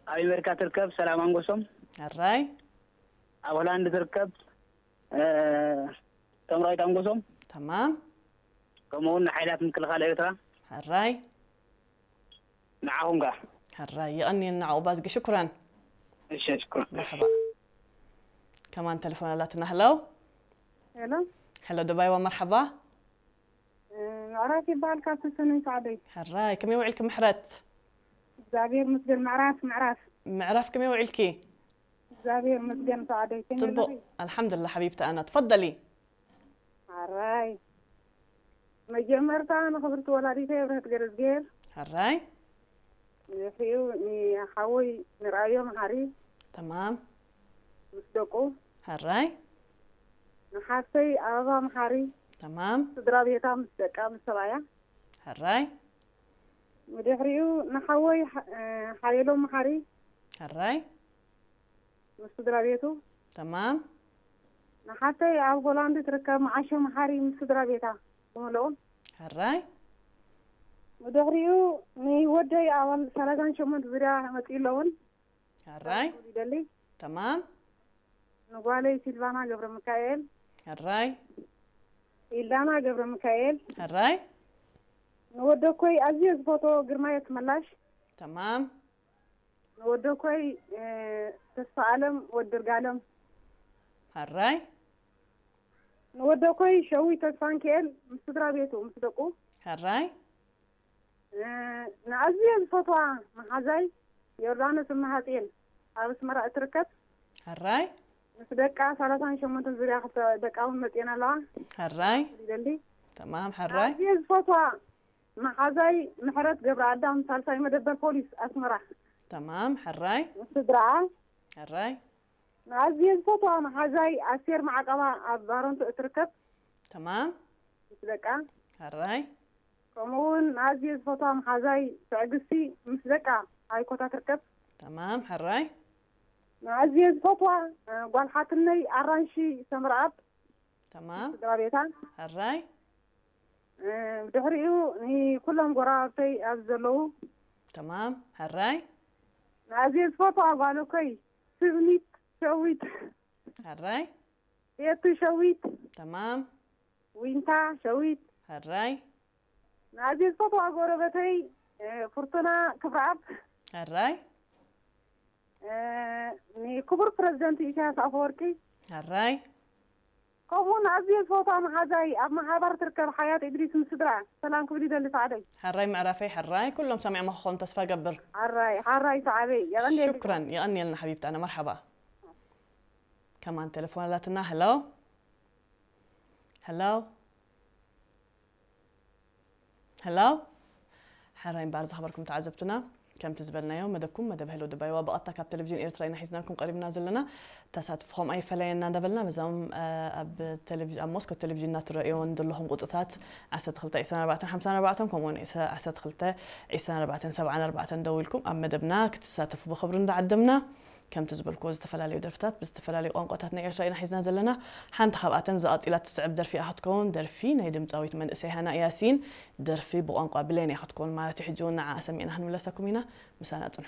ኣብ ኣሜሪካ ትርከብ ሰላም ኣንጎሶም፣ ሕራይ ኣብ ሆላንድ ትርከብ እ፣ ተምራዊት ኣንጎሶም፣ ተማም ከምኡ እውን ንሓይላት ምክልኻል ኤርትራ ሕራይ ንዓኹም ከ። ሕራይ የቐንየልና ዓቑባዝጊ ሽኩራን። እሺ፣ ሽኩር። መርሓባ። ከማን ተሌፎን ኣላትና። ሄሎ ሄሎ ሄሎ፣ ደባይዋ መርሓባ። ምዕራፍ ይበሃል ካብ ሰሰነን ሳዕደይ። ሕራይ ከመይ ውዒልኪ ምሕረት? እግዚኣብሔር ምስገን። ምዕራፍ ምዕራፍ ምዕራፍ ከመይ ውዒልኪ? እግዚኣብሔር ምስገን። ሳዕደይ ከመይ ጽቡቅ ኣለኺ? ኣልሓምዱላ ሓቢብቲ ኣና ትፈደሊ። ኣራይ መጀመርታ ንኽብርቲ ወላዲተ የብርህት ገረዝጌር ሕራይ ንሕሪኡ ንሓወይ ንርኣዮ መሓሪ ተማም ምስ ደቁ ሕራይ ንሓፍተይ ኣበባ መሓሪ ተማም ስድራ ቤታ ምስ ደቃ ምስ ሰብኣያ ሕራይ ብድሕሪኡ ንሓወይ ሓ- ሓየሎም መሓሪ ሕራይ ምስ ስድራ ቤቱ ተማም ንሓፍተይ ኣብ ሆላንድ ትርከብ መዓሾ መሓሪ ምስ ስድራ ቤታ ብምልኦም ሕራይ ብድሕሪኡ ንወደይ ኣባል ሰላሳን ሸሞንተ ዙርያ መፅኡ ኣለውን ሕራይ ይደሊ ተማም ንጓለይ ሲልቫና ገብረ ሚካኤል ሕራይ ኢልዳና ገብረ ሚካኤል ሕራይ ንወደኮይ ኣዝየ ዝፈቶ ግርማየ ክመላሽ ተማም ንወደኮይ ተስፋ ኣለም ወድርጋለም ሕራይ ንወደኮይ ሸዊ ተስፋንክኤል ምስ ስድራ ቤቱ ምስ ደቁ ሕራይ ንኣዝየ ዝፈትዋ መሓዛይ ዮርዳኖስ እመሃፅኤል ኣብ ኣስመራ እትርከብ ሕራይ ምስ ደቃ ሰላሳን ሸሞንተን ዙርያ ክልተ ደቃ እውን መፅኤን ኣለዋ ሕራይ ይደሊ ተማም ሕራይ ኣዝየ ዝፈትዋ መሓዛይ ምሕረት ገብረ ኣዳም ሳልሳይ መደበር ፖሊስ ኣስመራ ተማም ሕራይ ምስ ስድራኣ ሕራይ ንኣዝየ ዝፈትዋ መሓዛይ ኣስቴር ማዕቀባ ኣብ ባረንቱ እትርከብ ተማም ምስ ደቃ ሕራይ ከምኡ እውን ንኣዝየ ዝፈትዋ መሓዛይ ትዕግስቲ ምስ ደቃ ኣይኮታ ትርከብ ተማም ሕራይ ንኣዝየ ዝፈትዋ እ፣ ጓል ሓትነይ ኣራንሺ ሰምረኣብ ተማም ስድራ ቤታ ሕራይ እ፣ ድሕሪኡ ንኩሎም ጎረባብተይ ኣብ ዘለዉ ተማም ሕራይ ንኣዝየ ዝፈትዋ ጓለኮይ ስብኒት ሸዊት ሕራይ ቤቱ ሸዊት ተማም ዊንታ ሸዊት ሕራይ ንኣዝየ ዝፈትዋ ጎረበተይ እ፣ ፍርቱና ክብረኣብ ሕራይ እ፣ ንክቡር ፕረዚደንት ኢሳያስ ኣፈወርቂ ሕራይ ከምኡ ንኣዝየ ዝፈትዋ መሓዛይ ኣብ መሓባር ትርከብ ሓያት እድሪስ ምስ ስድራ ሰላም ክብል ይደሊ ሳዕደይ ሕራይ ምዕራፈይ ሕራይ ኩሎም ሰሚዖም ክኾኑ ተስፋ ገብር ሓራይ ሓራይ ሳዕበይ የቐንየልካ ሽኩረን የቐንየልና ሓቢብቲ ኣነ መርሓባ ከማን ቴሌፎን ኣላትና ሄሎ ሄሎ ሄሎ ሕራይ እምበኣር ዝኸበርኩም ተዓዘብትና ከምቲ ዝበልናዮ መደብኩም መደብ ሄሎ ድባይዋ ብቐጥታ ካብ ቴሌቪዥን ኤርትራ ኢና ሒዝናልኩም ቀሪብና ዘለና ተሳትፍኹም ኣይፈለየና እንዳበልና በዞም ኣብ ቴሌቪዥን ኣብ ሞስኮ ቴሌቪዥን እናትረእዮን ዘለኹም ቁፅታት ዓሰርተ ክልተ ዕስራን ኣርባዕተን ሓምሳን ኣርባዕተን ከምኡውን ዓሰርተ ክልተ ዕስራን ኣርባዕተን ሰብዓን ኣርባዕተን ደዊልኩም ኣብ መደብና ክትሳተፉ ብኽብሪ እንዳዓደምና ከምቲ ዝበልክዎ ዝተፈላለዩ ደርፍታት ብዝተፈላለዩ ቋንቋታት ናይ ኤርትራ ኢና ሒዝና ዘለና ሓንቲ ካብኣተን ዝቐፂላ ትስዕብ ደርፊ እያ ክትከውን ደርፊ ናይ ድምፃዊት መንእሰይ ሃና ያሲን ደርፊ ብቋንቋ ብሌን እያ ክትከውን ማለት እዩ ሕጂ እውን ንዓ ሰሚዕና ክንምለሰኩም ኢና ምሳና ፅንሑ